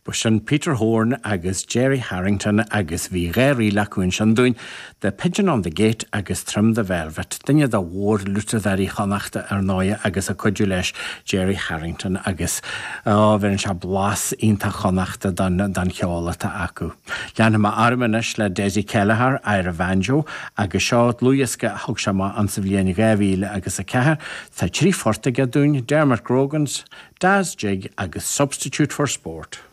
B'shin Peter Horne agus Gerry Harrington agus bhí dha ríl acu ansin dúinn, The Pigeon on the Gate agus Trim the Velvet, duine de mhórfhliútadóirí Chonnachta ar ndóighe agus ag cuidiú leis Gerry Harrington agus á bheireann sé blas iontach Chonnachta don don cheol atá acu. Leanfaidh mé orm anois le Dessie Kelleher, Eire Bhanjo, agus seo dlúthdhiosca a thug sé amach ann sa bhliain 2004. Tá trí phort aige dúinn, Dermot Grogan's, Da's Jig agus Substitute for Sport.